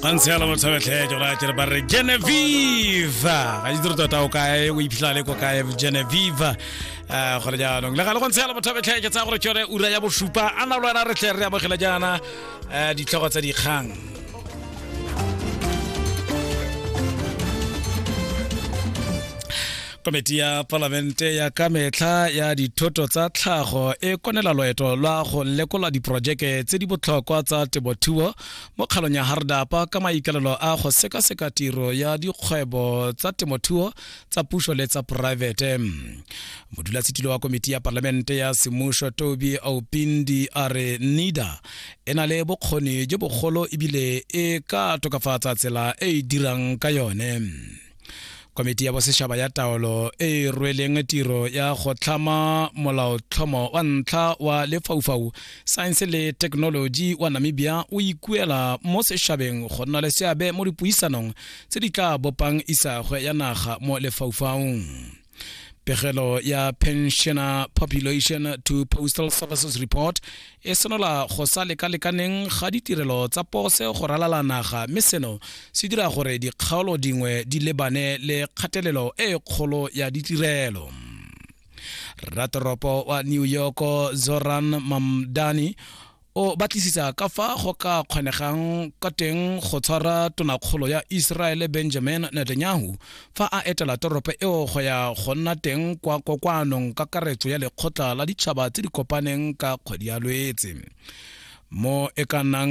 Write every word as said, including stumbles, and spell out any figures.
Gantsi yalo motho betlhe ke gore ke re ba re Genevieve ga itse re tota o kae o iphitlhela le ko kae Genevieve um gore jaanong le gale go ntse yalo motho betlhe ke tsaya gore ke yone ura ya bosupa a na le wena re tle re amogela jaana um ditlhogo tsa dikgang. Komiti ya palamente ya ka metlha ya dithoto tsa tlhago e konela loeto lwa go lekola diporojeke tse di botlhokwa tsa temothuo mo kgalong ya Hardapa ka maikalelo a go sekaseka tiro ya dikgwebo tsa temothuo tsa puso le tsa poraefete. Modulasetilo wa komiti ya palamente ya semmušo Toby Aupindi a re NIDA e na le bokgoni jo bogolo ebile e ka tokafatsa tsela e e dirang ka yone. Komiti ya bosetšhaba ya taolo e e rweleng tiro ya go tlhama molaotlhomo wa ntlha wa lefaufau saense le thekenoloji wa Namibia o ikuela mo setšhabeng go nna le seabe mo dipuisanong tse di tla bopang isagwe ya naga mo lefaufaung. Pegelo ya Pensioner Population to Postal Services Report e senola go sa lekalekaneng ga ditirelo tsa pose go ralala naga mme seno se dira gore dikgaolo dingwe di lebane le kgatelelo e kgolo ya ditirelo. Ratoropo wa New York Zoran Mamdani o batlisisa ka fa go ka kgonegang ka teng go tshwara tonakgolo ya Israel Benjamin Netanyahu fa a etela toropo eo go ya go nna teng kwa kokoanong kakaretso ya lekgotla la ditšhaba tse di kopaneng ka kgwedi ya Lwetse. Mo e ka nnang